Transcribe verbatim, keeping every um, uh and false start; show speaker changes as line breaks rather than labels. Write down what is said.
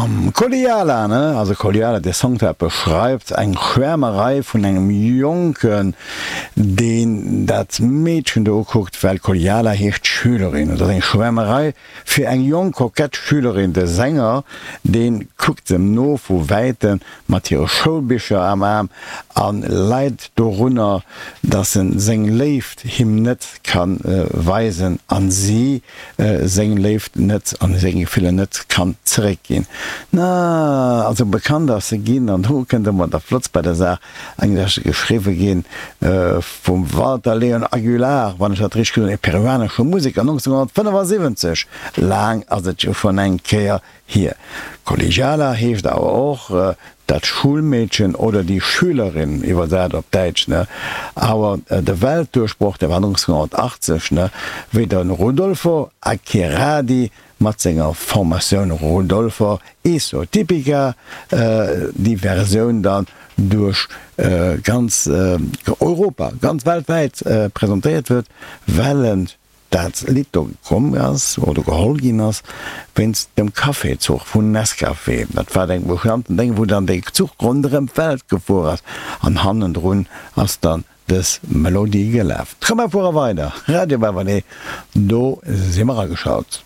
Bam! Kolegiala, ne? Also Kolegiala, dee Song dat beschreift eng Schwärmerei vun engem Jonken, deen dat Meedchen do ukuckt, well Kolegiala heescht Schülerin. Et ass eng Schwärmerei fir eng jonk kokett Schülerin. De Sänger, dee kuckt em no vu wäitem mat hire Schoulbicher am Aarm a leit dorunner, dass en seng Léift him net ka weisen an si seng Léift net an seng Gefiller net kann zeréckginn. Na, also bekannt ass se ginn, an do kënnt ëmmer dat Flottst bei der Saach, eng ass geschriwwe gi vum Walter Leon Aguilar, wann ech dat richteg gesot hunn, e peruanesche Museker, nonzénhunnertfënnefasiwwenzeg, laang ass et jo schonn eng Kéier hier. Collegiala heescht awer och dat Schulmädchen oder die Schülerin, iwwersat op Däitsch, ne? Awer de Weltduerchbroch, dee war nonzénhunnertachtzeg, ne, wéi de Rodolfo Aceradi mat senger Formatioun Rodolfo y su Típica déi Versioun dann duerch ganz Europa, ganz weltwäit presentéiert huet, well en dat Lidd do komm ass oder geholl ginn ass wéinst dem Cafézuch vun Nescafé. Dat war eng bekannten Déng, wou dann dee Zuch ronderëm d'Welt gefuer ass an hannendrun ass dann dës Melodie gelaf. Komm mer fuere weider, Radio Baverlee, do si mer ageschalt.